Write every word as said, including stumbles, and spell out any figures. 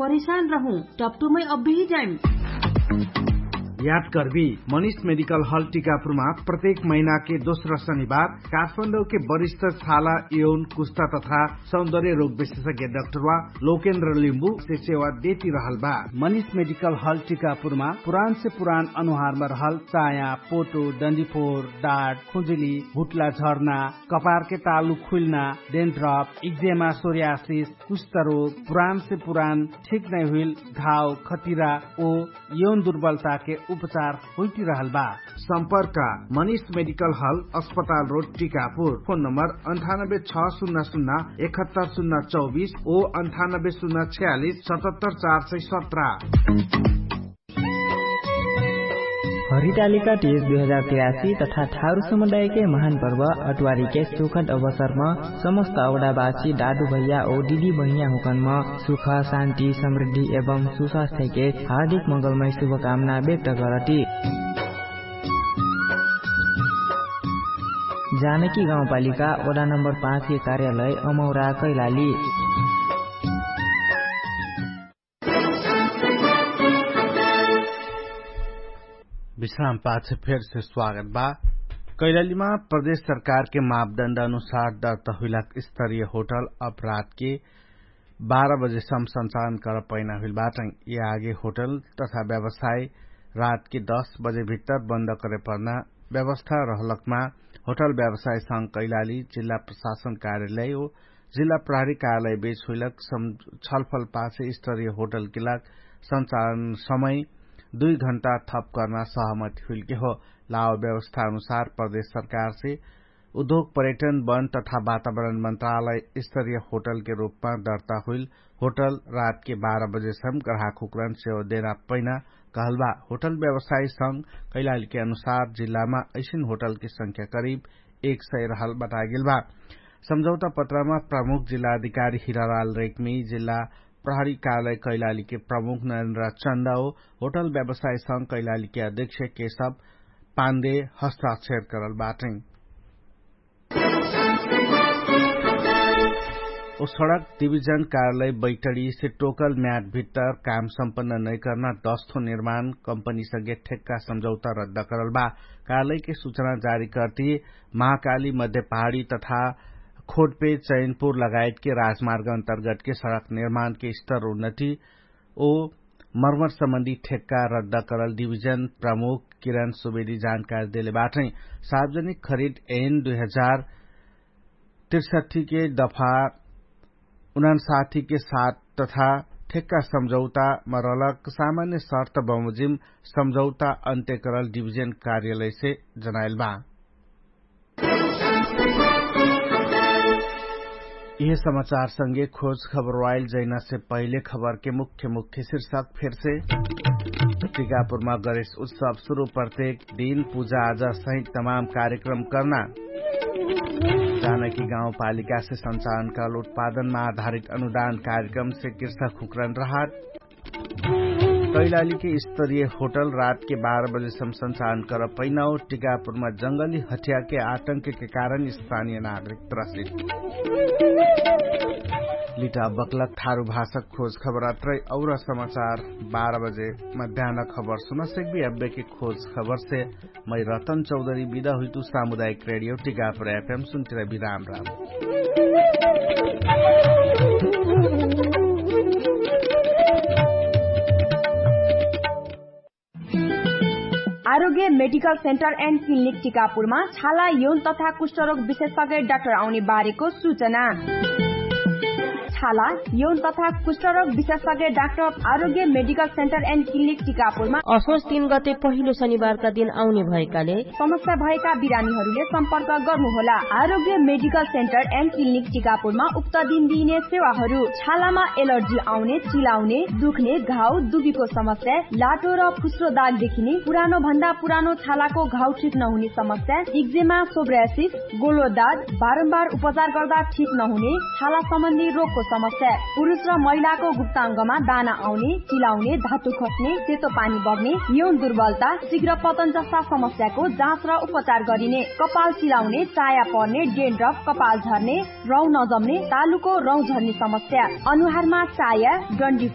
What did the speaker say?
परेशान रहु, टपटुमै अब्बी जाइम। याद करबी, मनिष मेडिकल हल टिकापुरमा प्रत्येक महिनाके दोस्रा शनिबार काठमाडौके वरिष्ठ छाला यौन कुष्टा तथा सौन्दर्य रोग विशेषज्ञ डाक्टरवा लोकेन्द्र लिम्बु से सेवा देती रहल बा। मनिष मेडिकल हल टिकापुरमा पुरान से पुरान अनुहारमा रहल चाया, पोटो, डन्डीफोर, डाट, खुजुली, हुटला झर्ना, कपारके तालु खुल्ना, डेन्ट्रप, इक्जेमा, सोर्यासिस, कुष्ठरोग, पुरान से पुरान ठिक नै हुइल घाव, खतिरा ओ यौन दुर्बलताके उपचार होइटिरहल बा। सम्पर्क मनिष मेडिकल हल, अस्पताल रोड, टिकापुर। फोन नम्बर अन्ठानब्बे छ सुन्ना सुन्ना एकहत्तर सुन्ना चौबिस ओ अन्ठानब्बे सुन्ना छयालिस सतहत्तर चार सय सत्र। हरितालिका तीज दुई हजार तिरासी तथा थारु समुदायके महान पर्व अटवारीके सुखद अवसरम समस्त अवडाबासी दादु भैया ओ दिदी बहिनिया हुकनम सुख, शान्ति, समृद्धि एवं सुस्वास्थ्यके हार्दिक मङ्गलमय शुभकामना व्यक्त करती। जानकी गाउँपालिका वडा नम्बर पाँचके कार्यालय अमौरा कैलाली। विश्राम पाछ फेरसे स्वागत बा। कैलालीमा प्रदेश सरकारके मापदण्ड अनुसार दर्ता हुइलाक स्तरीय होटल अपराधके बाह्र बजेसम सञ्चालन कर पैना हुइल बाटै। यि आगे होटल तथा व्यवसाय रातके दश बजे भित्तर बन्द करे पर्ना व्यवस्था रहलकमा होटल व्यवसाय संग कैलाली जिल्ला प्रशासन कार्यालय ओ जिल्ला प्रहरी कार्यालय बेच हुइलक छलफल पाछे स्तरीय होटल किलाक सञ्चालन समय दुई घण्टा थप कर्ना सहमति हुइलके हो। लाव व्यवस्था अनुसार प्रदेश सरकारसे उद्योग पर्यटन वन तथा वातावरण मन्त्रालय स्तरीय होटलके रूपमा दर्ता हुइल होटल रातके बाह्र बजेसम ग्राहक हुक्रन सेवा देना पैना कहल बा। होटल व्यवसाय संग कैलालीके अनुसार जिल्लामा ऐसिन होटलके संख्या करिब एक सय रहल बतागेल बा। सम्झौता पत्रमा प्रमुख जिल्ला अधिकारी हिरालाल रेकमी, जिल्ला प्रहरी कार्यालय कैलालीके प्रमुख नरेन्द्र चन्द ओ होटल व्यवसाय संग कैलालीके अध्यक्ष केशव पाण्डे हस्ताक्षर करल बाटै। ओ सडक डिभिजन कार्यालय बैटडीसे टोकल म्याट भित्तर काम सम्पन्न नैकर्ना दस थो निर्माण कम्पनीसँगे ठेक्का सम्झौता रद्द करल बा। कार्यालयके सूचना जारी कर्ती महाकाली मध्य पहाडी तथा खोटपे चैनपुर लगायतके राजमार्ग अन्तर्गतके सडक निर्माणके स्तर उन्नति ओ मर्मर सम्बन्धी ठेक्का रद्द करल डिभिजन प्रमुख किरण सुवेदी जानकारी देले बाटै। सार्वजनिक खरिद एन दुई हजार तिरसठीके दफा उनासाठीके साथ तथा ठेक्का सम्झौतामा रहलक सामान्य शर्त बमोजिम सम्झौता अन्त्य करल डिभिजन कार्यालयसे जनाइल बा। यिहे समाचारसँगे खोज खबर वाइल जैनासे पहिले खबरके मुख्य मुख्य शिर्षक फेरसे। टिकापुरमा गणेश उत्सव सुरु प्रत्येक दिन पुजा आजा सहित तमाम कार्यक्रम कर्ना। जानकी गाउँपालिकासे सञ्चालनकाल उत्पादनमा आधारित अनुदान कार्यक्रमसे कृषक हुक्रन रहत। कैलालीके स्तरीय होटल रातके बाह्र बजेसम सञ्चालन कर पैनाओ। टिकापुरमा जङ्गली हठियाके आतंकके कारण स्थानीय नागरिक त्रसित। लिटा बक्लक थारु भाषक खोज खबर अत्रै और समाचार बाह्र बजे मध्यान खबर सुनसक्बी। अब्बेके खोज खबरसे मै रतन चौधरी बिदा हुइतु। सामुदायिक रेडियो टिकापुर एफएम सुन्तिरा बिराम राम। आरोग्य मेडिकल सेन्टर एन्ड क्लिनिक टिकापुरमा छाला यौन तथा कुष्ठरोग विशेषज्ञ डाक्टर आउने बारेको सूचना। छाला यौन तथा कुष्ठरोग विशेषज्ञ डाक्टर आरोग्य मेडिकल सेन्टर एन्ड क्लिनिक टिकापुरमा असोच तीन गते पहिलो शनिबारका दिन आउने भएकाले समस्या भएका बिरामीहरूले सम्पर्क गर्नुहोला। आरोग्य मेडिकल सेन्टर एन्ड क्लिनिक टिकापुरमा उक्त दिन दिइने सेवाहरू छालामा एलर्जी आउने, चिलाउने, दुख्ने, घाउ दुबीको समस्या, लाटो र फुस्रो दाग देखिने, पुरानो भन्दा पुरानो छालाको घाउ ठिक नहुने समस्या, इक्जेमा, सोब्रासिस, गोलो दाग, बारम्बार उपचार गर्दा ठिक नहुने छाला सम्बन्धी रोगको समस्या, पुरुष र महिलाको गुप्ताङ्गमा दाना आउने, चिलाउने, धातु खस्ने, सेतो पानी बग्ने, यौन दुर्बलता, शीघ्र पतन जस्ता समस्याको जाँच र उपचार गरिने, कपाल चिलाउने, चाया पर्ने, डेन्ड्रफ, कपाल झर्ने, रौँ नजम्ने, तालुको रौँ झर्ने समस्या, अनुहारमा चाया, डन्डी